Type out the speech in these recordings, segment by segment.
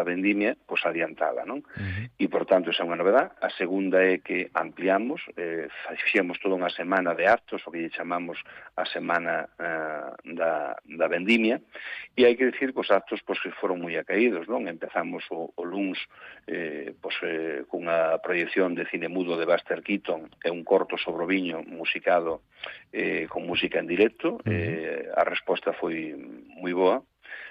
vendimia, pois adiantada, non? E, por tanto, esa é unha novedade. A segunda é que ampliamos, fixemos toda unha semana de actos, o que lle chamamos a semana da vendimia, e hai que dicir que os actos pois, que foron moi acaídos, non? Empezamos o luns cunha proyección de cine mudo de Buster Keaton e un corto sobre o viño musicado con música en directo. A resposta foi moi boa.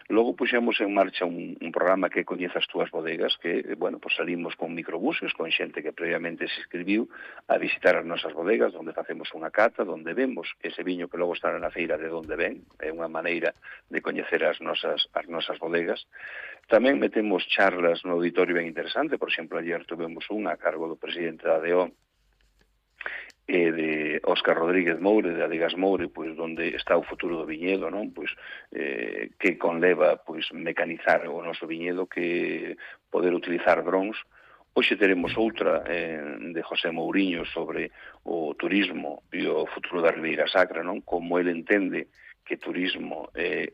Logo puxemos en marcha un programa que coñece as túas bodegas, que, bueno, pues salimos con microbuses, con xente que previamente se inscribiu a visitar as nosas bodegas, onde facemos unha cata, onde vemos ese viño que logo estará na feira de onde ven, é unha maneira de coñecer as nosas bodegas. Tamén metemos charlas no auditorio ben interesante, por exemplo, ayer tuvemos unha a cargo do presidente da ADO, de Óscar Rodríguez Moure, de Adegas Moure, pois onde está o futuro do viñedo, non? Pois que conleva pois mecanizar o noso viñedo, que poder utilizar drons. Hoxe teremos outra de José Mouriño sobre o turismo e o futuro da Ribeira Sacra, non? Como ele entende que turismo e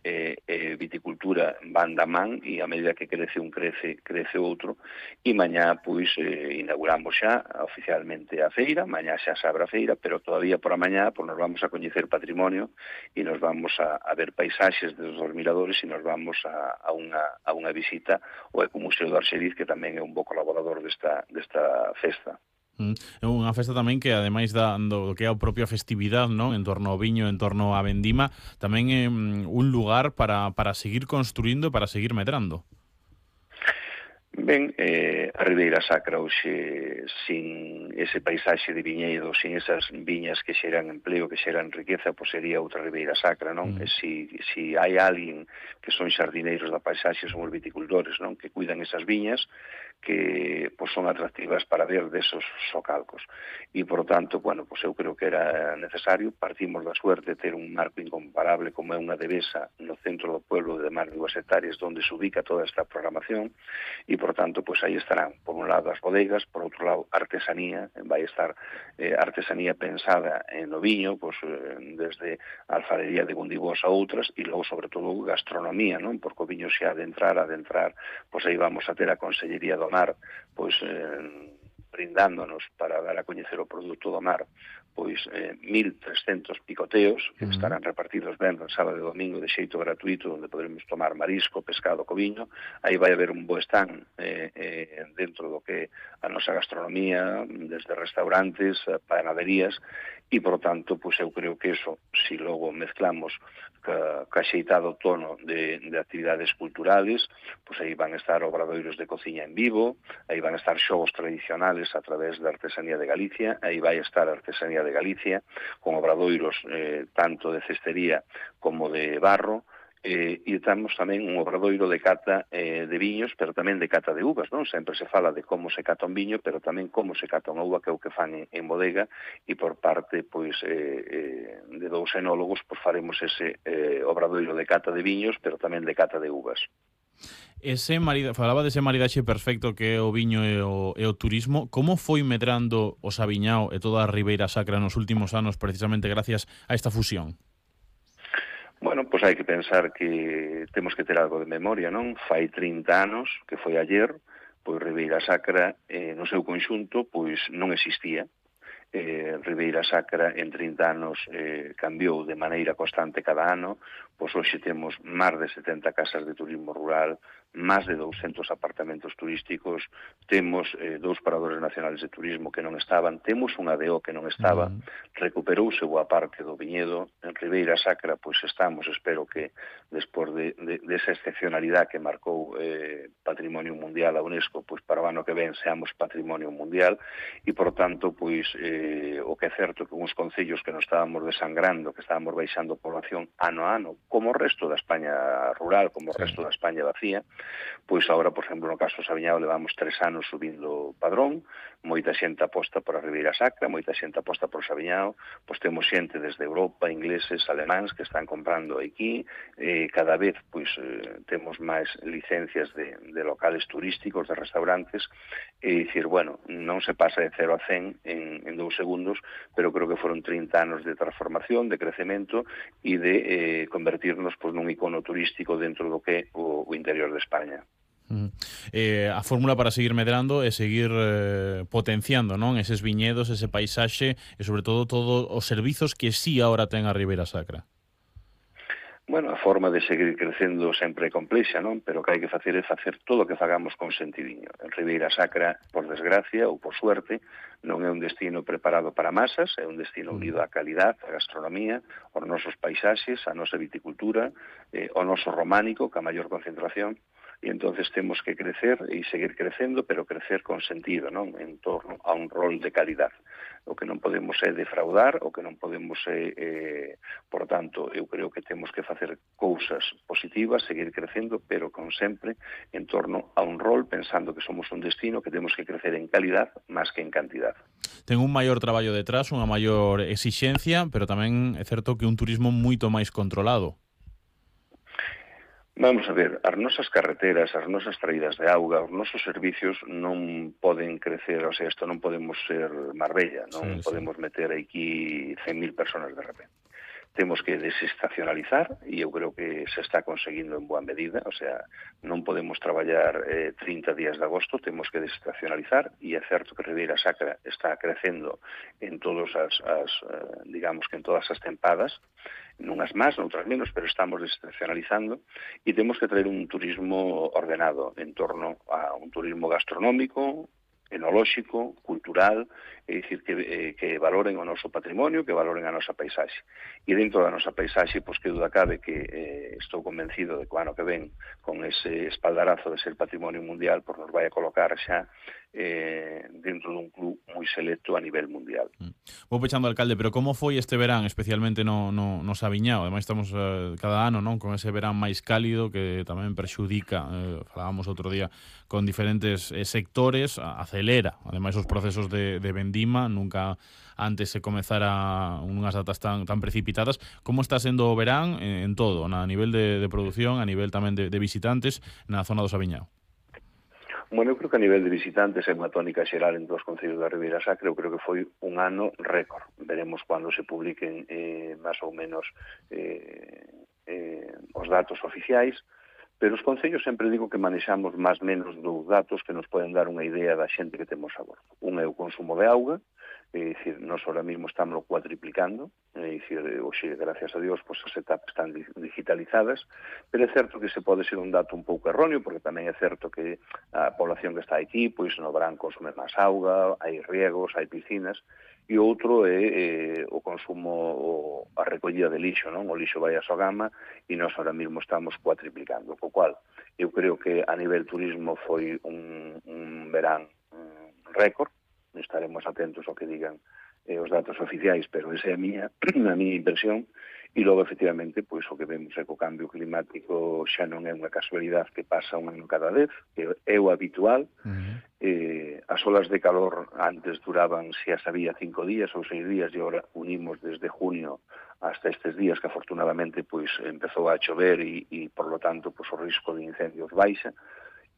viticultura van da man, e a medida que crece un crece outro, e mañá pois inauguramos xa oficialmente a feira, mañá xa se abre a feira, pero todavía por a mañá pois nos vamos a coñecer patrimonio e nos vamos a ver paisaxes dos miradores, e nos vamos a unha visita ao Ecomuseo do Arxeriz, que tamén é un bo colaborador desta festa. É unha festa tamén que, ademais do que é a propia festividade, non, en torno ao viño, en torno á vendima, tamén é un lugar para seguir construindo e para seguir medrando. Ben, a Ribeira Sacra hoxe, sin ese paisaxe de viñedo, sin esas viñas que xeran empleo, que xeran riqueza, pois sería outra Ribeira Sacra, non? Si hai alguén que son xardineiros da paisaxe, son os viticultores, non? Que cuidan esas viñas, que pois son atractivas para ver desos socalcos. E, por tanto, bueno, pois eu creo que era necesario. Partimos da suerte de ter un marco incomparable como é unha devesa no centro do pueblo de máis de 2 hectáreas, onde se ubica toda esta programación, e, por tanto, pois aí estarán, por un lado, as bodegas, por outro lado, artesanía. Vai estar artesanía pensada no viño, pois desde a alfarería de Gundibós a outras, e logo, sobre todo, gastronomía, non? Porque o viño se adentrar, pois aí vamos a ter a Consellería do Mar, pois brindándonos para dar a coñecer o produto do mar, pois 1.300 picoteos que estarán repartidos ben no sábado e domingo de xeito gratuito, onde poderemos tomar marisco, pescado co viño. Aí vai haber un bo stand dentro do que a nosa gastronomía, desde restaurantes, panaderías, e, por tanto, pois eu creo que eso, si logo mezclamos ca xeitado tono de actividades culturales, pois aí van estar obradoiros de cociña en vivo, aí van estar xogos tradicionales a través da artesanía de Galicia, aí vai estar a artesanía de Galicia, con obradoiros tanto de cestería como de barro, e temos tamén un obradoiro de cata de viños, pero tamén de cata de uvas, non? Sempre se fala de como se cata un viño, pero tamén como se cata unha uva, que é o que fan en bodega, e por parte pois de dous enólogos pois faremos ese obradoiro de cata de viños, pero tamén de cata de uvas. Falaba dese maridaxe perfecto que é o viño e o turismo. Como foi medrando o Saviñao e toda a Ribeira Sacra nos últimos anos, precisamente gracias a esta fusión? Bueno, pois hai que pensar que temos que ter algo de memoria, non? Fai 30 anos, que foi ayer, pois Ribeira Sacra no seu conxunto pois non existía. Ribeira Sacra en 30 anos cambiou de maneira constante cada ano, pois hoxe temos máis de 70 casas de turismo rural, máis de 200 apartamentos turísticos, temos 2 paradores nacionales de turismo que non estaban, temos unha DO que non estaba, recuperouse boa parte do viñedo. En Ribeira Sacra, pois estamos, espero que despois desa excepcionalidade que marcou Patrimonio Mundial a UNESCO, pois para o ano que ven seamos Patrimonio Mundial, e, por tanto, pois o que é certo que uns concellos que nos estábamos desangrando, que estábamos baixando población ano a ano, como o resto da España rural, como o resto da España vacía, pois agora, por exemplo, no caso do Saviñao levamos 3 anos subindo padrón, moita xente aposta por a Ribeira Sacra, moita xente aposta por o Saviñao, pois temos xente desde Europa, ingleses, alemáns, que están comprando aquí, cada vez pois temos máis licencias de locales turísticos, de restaurantes, e dicir, bueno, non se pasa de 0 a 100 en 2 segundos, pero creo que foron 30 anos de transformación, de crecemento e de convertirnos pois nun icono turístico dentro do que é o interior de España. A fórmula para seguir medrando é seguir potenciando, non, eses viñedos, ese paisaxe e sobre todo todos os servizos que sí ahora ten a Ribeira Sacra. Bueno, a forma de seguir crecendo sempre é complexa, non? Pero o que hai que facer é facer todo o que fagamos con sentidiño. En Ribeira Sacra, por desgracia ou por suerte, non é un destino preparado para masas, é un destino unido á calidad, á gastronomía, aos nosos paisaxes, á nosa viticultura, ao noso románico, ca maior concentración, e entonces temos que crecer e seguir crecendo, pero crecer con sentido, non? En torno a un rol de calidad. O que non podemos é defraudar, o que non podemos é, por tanto, eu creo que temos que facer cousas positivas, seguir crecendo, pero con sempre en torno a un rol, pensando que somos un destino que temos que crecer en calidad máis que en cantidad. Ten un maior traballo detrás, unha maior exixencia, pero tamén é certo que un turismo moito máis controlado. Vamos a ver, as nosas carreteras, as nosas traídas de auga, os nosos servicios non poden crecer, o sea, isto non podemos ser Marbella, non podemos meter aquí 100.000 personas de repente. Temos que desestacionalizar, e eu creo que se está conseguindo en boa medida, o sea, non podemos traballar 30 días de agosto, temos que desestacionalizar, e é certo que Ribeira Sacra está crecendo en todas digamos que en todas as tempadas, nunhas máis, noutras menos, pero estamos desestacionalizando, e temos que traer un turismo ordenado en torno a un turismo gastronómico, enolóxico, cultural, é dicir, que valoren o noso patrimonio, que valoren a nosa paisaxe. E dentro da nosa paisaxe, pois que duda cabe que estou convencido de que o ano que ven, con ese espaldarazo de ser patrimonio mundial, pois nos vai a colocar xa dentro dun club moi selecto a nivel mundial. Vou pechando, alcalde, pero como foi este verán, especialmente no Sabiñao? Ademais estamos cada ano, non, con ese verán máis cálido que tamén perxudica, falábamos outro día, con diferentes sectores, acelera, ademais os procesos de vendima, nunca antes se comezara unhas datas tan precipitadas. Como está sendo o verán en todo, a nivel de produción, a nivel tamén de visitantes na zona do Sabiñao? Bueno, eu creo que a nivel de visitantes é unha tónica xeral en todos os concellos da Ribeira Sacra. Eu creo que foi un ano récord. Veremos cando se publiquen máis ou menos os datos oficiais, pero os concellos sempre digo que manexamos máis menos dos datos que nos poden dar unha idea da xente que temos a bordo. Un é o consumo de auga, é dicir, nós ahora mesmo estamos cuadriplicando, é dicir, hoxe, gracias a Dios, pues, as etapas están digitalizadas, pero é certo que se pode ser un dato un pouco erróneo, porque tamén é certo que a población que está aquí, pois no verán consume máis auga, hai riegos, hai piscinas, e outro é o consumo, a recollida de lixo, non? O lixo vai a Sogama, e nós ahora mesmo estamos cuadriplicando, co cual eu creo que a nivel turismo foi un verán récord. Estaremos atentos ao que digan os datos oficiais, pero esa é a miña impresión. E logo, efectivamente, pois o que vemos é que o cambio climático xa non é unha casualidade que pasa un ano cada vez, que é o habitual. As olas de calor antes duraban, xa sabía, 5 días ou 6 días, e agora unimos desde junio hasta estes días que afortunadamente pois empezou a chover e por lo tanto pois o risco de incendios baixa,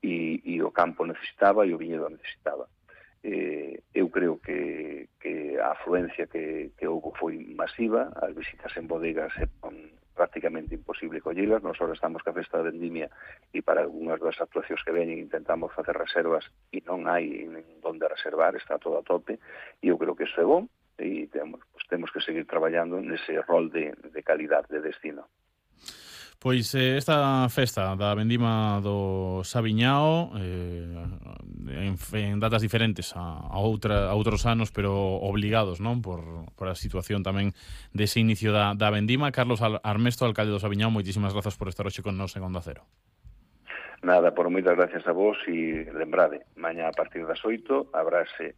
e o campo necesitaba e o viñedo necesitaba. Eu creo que a afluencia que houve foi masiva, as visitas en bodegas é prácticamente imposible collelas. Nós ahora estamos ca festa da vendimia e para algunhas das actuacións que veñen intentamos facer reservas e non hai onde reservar, está todo a tope, e eu creo que iso é bom, e temos que seguir traballando nese rol de calidad de destino. Pois esta festa da vendima do Sabiñao en datas diferentes a outros anos, pero obligados, non, por a situación tamén dese inicio da vendima. Carlos Armesto, alcalde do Sabiñao, moitísimas grazas por estar hoxe con nós en Onda Cero. Nada, por moitas gracias a vos, e lembrade, mañá a partir das 8 abrirase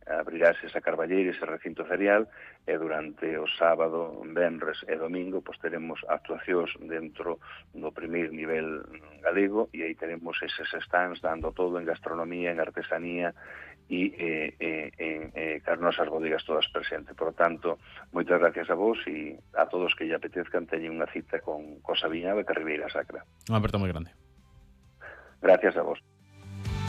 esa carballeira, ese recinto ferial, e durante o sábado, venres e domingo pois teremos actuacións dentro do primeiro nivel galego, e aí teremos eses stands dando todo en gastronomía, en artesanía e as nosas bodegas todas presentes. Por tanto, moitas gracias a vos, e a todos que lle apetezcan teñen unha cita con Sabiñao e Ribeira Sacra. Unha aperta moi grande. Gracias a vos.